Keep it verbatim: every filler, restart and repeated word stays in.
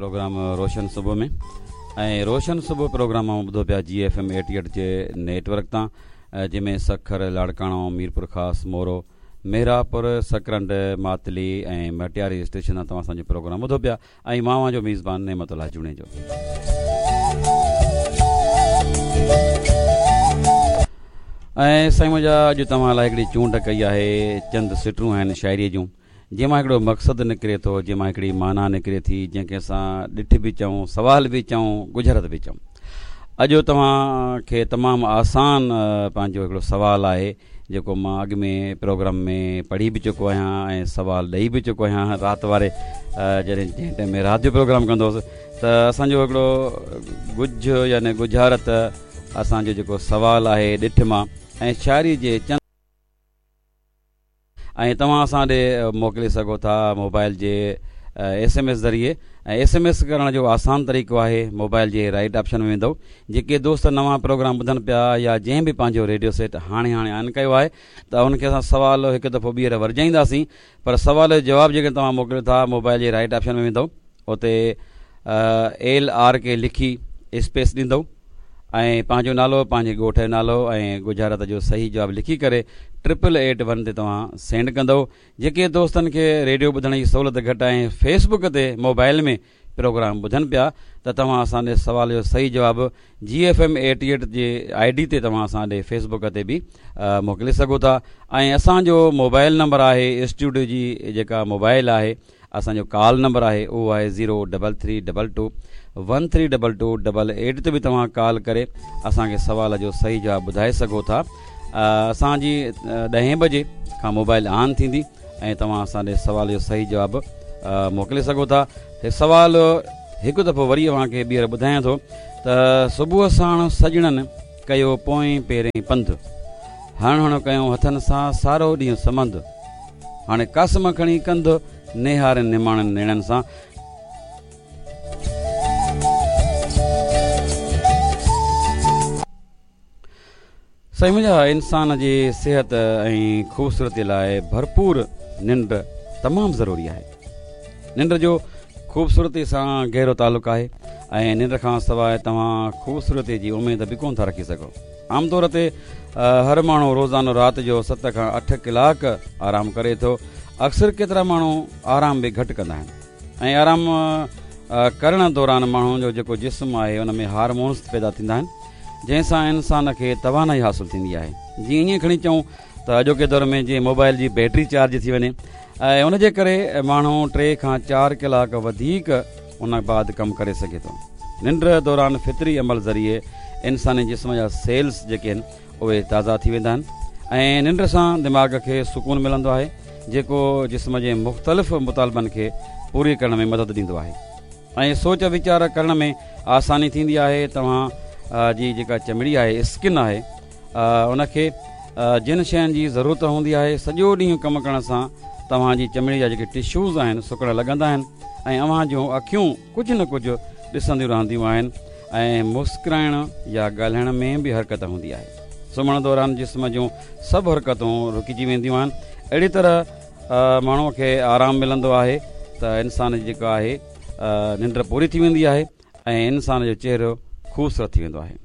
Programme روشن صبح ۾ ۽ روشن صبح programme اوهان ٻڌو پيا جي ايف ايم ايٽي ايٽ جي نيٽ ورڪ تان، جنهن ۾ سکر، لاڙڪاڻو، ميرپور خاص، مورو، مهراپور، سڪرنڊ، ماتلي ۽ مٽياري اسٽيشن تان توهان اسان جو پروگرام ٻڌو پيا ۽ مان اوهان جو ميزبان نعمت الله جوڻيجو. ۽ سائين منهنجا اڄ توهان لاء هڪڙي چونڊ ڪئي آهي، چند سٽون آهن شاعريء جون، جنهن مان هڪڙو مقصد نڪري ٿو، جنهن مان هڪڙي معنيٰ نڪري ٿي، جنهن کي اسان ڏٺ به چئون، سوال به چئون، ڳجهارت به چئون. اڄ توهان کي تمام آسان پنهنجو هڪڙو سوال آهي، جيڪو مان اڳ ۾ پروگرام ۾ پڙهي به چڪو آهيان ۽ سوال ڏئي به چڪو آهيان. رات واري جڏهن جنهن ٽائيم ۾ رات جو پروگرام ڪندو هوس ته اسان جو هڪڙو ڳجهه يعني ڳجهارت اسان جو جيڪو سوال آهي ڏٺ مان ۽ شاعري جي چند ۽ توهان اسان ڏي موڪلي سگهو ٿا موبائل جي ايس ايم ايس ذريعي ۽ ايس ايم ايس ڪرڻ جو آسان طريقو آهي موبائل جي رائيٽ آپشن ۾ ويندو. جيڪي دوست نوان پروگرام ٻڌن پيا يا جنهن به پنهنجو ريڊيو سيٽ هاڻي هاڻي آن ڪيو آهي ته ان کي اسان سوال هڪ دفعو ٻيهر ورجائينداسين، پر سوال جو جواب جيڪڏهن توهان موڪليو ٿا موبائل جي رائيٽ آپشن ۾ ويندو، اتي ايل آر ڪي لکي اسپيس ڏيندو ۽ پنهنجو نالو، پنهنجي ڳوٺ جو نالو ۽ ڳجهارت جو صحيح جواب لکي ڪري ٽرپل ايٽ ون تي توهان سينڊ ڪندو. جيڪي دوستن کي ريڊيو ٻڌڻ جي سهولت گهٽ آهي ۽ فيس بڪ تي موبائل ۾ پروگرام ٻڌن پيا ته توهان اسان ڏي سوال جو صحيح جواب جي ايف ايم ايٽي ايٽ جي I D تي توهان اسان ڏي فيس بڪ تي به موڪلي سگهو ٿا. ۽ اسان جو موبائل نمبر آهي اسٽوڊيو جي جيڪا موبائل آهي اسان جو ڪال نمبر آهي اهو آهي zero double three double two one three double two double eight تي به توهان ڪال ڪري اسان کي سوال جو صحيح جواب ٻڌائي سگهو ٿا. اسان جي ڏهين بجي کان موبائل آن ٿيندي ۽ توهان اسان ڏي سوال جو صحيح جواب موڪلي سگهو ٿا. هي سوال هڪ دفعو وري اوهان کي ٻيهر ٻڌايان ٿو ته صبح ساڻ سڄڻن ڪيو پوئين پيرين پنڌ، هڻ هڻ ڪيو هٿن سان سارو ڏينهن سمنڌ، هاڻي قاسم کڻي ڪنڌ نهارين نماڻن نيڻن سان. سائين منهنجا انسان جي صحت ۽ خوبصورتي لاء ڀرپور ننڊ تمام ضروري آهي. ننڊ جو خوبصورتي سان گهرو تعلق آهي ۽ ننڊ کان سواء توهان خوبصورتي جي اميد به ڪونه ٿا رکي سگهو. عام طور تي هر ماڻهو روزانو رات جو ست کان اٺ ڪلاڪ آرام ڪري ٿو. اڪثر ڪيترا ماڻهو آرام به گهٽ ڪندا آهن ۽ آرام ڪرڻ دوران ماڻهو جو جيڪو جسم آهي ان ۾ هارمونز پيدا ٿيندا آهن جنهن سان انسان کي توانائي حاصل ٿيندي آهي. جيئن ائين کڻي چئون ته اڄوڪي دور ۾ جيئن موبائل جي بيٽري چارج ٿي وڃي ۽ ان جي ڪري ماڻهو ٽي کان چار ڪلاڪ وڌيڪ ان بعد ڪم ڪري سگهي ٿو. ننڊ دوران فطري عمل ذريعي انساني جسم جا سيلز جيڪي آهن اهي تازا ٿي ويندا آهن ۽ ننڊ سان دماغ کي سڪون ملندو آهي جيڪو جسم جي مختلف مطالبن کي پوري ڪرڻ ۾ مدد ڏيندو آهي ۽ سوچ ويچار ڪرڻ ۾ آساني ٿيندي آهي. توهان جي جيڪا چمڙي آهي، اسڪن آهي، ان کي جن شين جي ضرورت هوندي آهي، سڄو ڏينهن ڪم ڪرڻ سان توهان جي چمڙي جا جيڪي ٽشوز آهن سڪڻ لڳندا آهن ۽ اوهان جون اکيون ڪجهه نه ڪجهه ڏسنديون رهنديون آهن ۽ مسڪرائڻ يا ڳالهائڻ ۾ به حرڪت هوندي آهي. سمهڻ دوران جسم جون سڀ حرڪتون رڪجي وينديون آهن. اهڙي طرح ماڻهوء کي آرام ملندو آهي ته انسان جي جيڪا آهي ننڊ پوري ٿي ويندي آهي ۽ انسان جو چهرو خوبصورت ٿي ويندو آهي.